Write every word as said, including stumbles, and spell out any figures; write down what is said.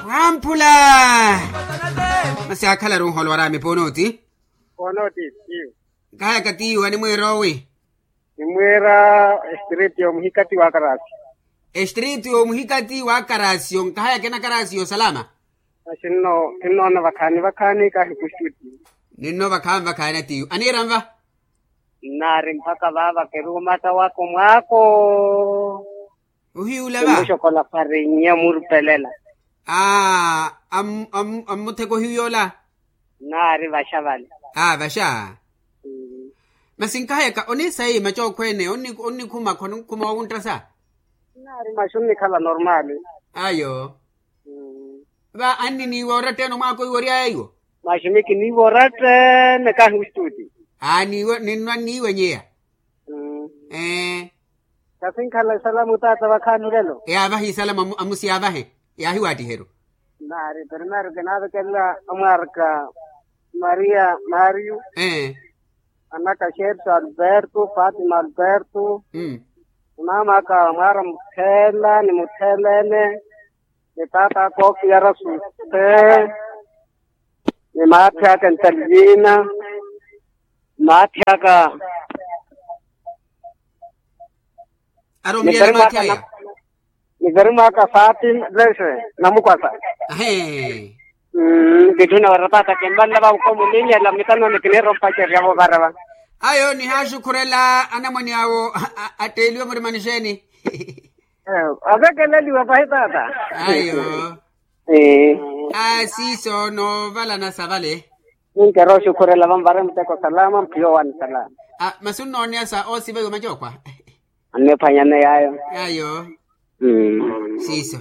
Wamphula. Masi akhala runholo waraami ponooti. Ponooti. Nkahayaka tiiwa nimwiira owi? Nimwiira estriti yomuhikati wa karasi. Estriti yomuhikati wa karasi yonkahayaka ena karasi yosalama. Masi nno kinnoona vakhaani vakhaani kahi kustuti. Ninno vakhaani vakhaani atiiwa aniira nva? Nnaari mpakha vaava keruwo mata wako mwaako. Ohiyuula va? Kimuxokola farinya murupelela. Aa. Ammutheka ohiyu yoola? Nnaari vaxa vale. Aa vaxa. Masi nkahayaka onisayi macookho ene onnikhuma khonkhuma wowunttasa? Nnaari maxi onnikhala normaali. Ayo. Va anniniiwa oratta ene omwaako iwo oryaya iwo? Maxi mikiniiwa oratta ene kahi ostuti. Aa niiwe ninnwa nniiwenyeya. Ee. Kasinkhala esalamu taata vakhaani olelo. Yaavahe esalamu amusi yaavahe. Yaahiwaattiheru. Nnaari primeiro kinaavekelela amwaarika maria mario. Ee. Anaka xerxo alberto fatima alberto. Mmaam'aka mwaara mutheela ni mutheela ene. Ni taat'aka oofiyara suse. Ni maathi aka entalivina. Maathi aka. Aromilyana maathi aya. Ni verimwaka fatima lese namukwasa. Ahe. Vitthuna warapata kimbanla vakukomulinyela mitanoni kiniira ompacerya voovarava. Ayo nihaaxukhurela anamwane awo. Atteeliwe murimani xeeni? Avekeleliwa pahi taata. Ayo. Asiiso noovalana sa vale. Ninkeera oxukhurela vanvare muteko salama mphiyo wani salama. Masi onnooneya sa oosiva iwe macookwa. Anniphwanyane yaayo. Ayo. Siiso.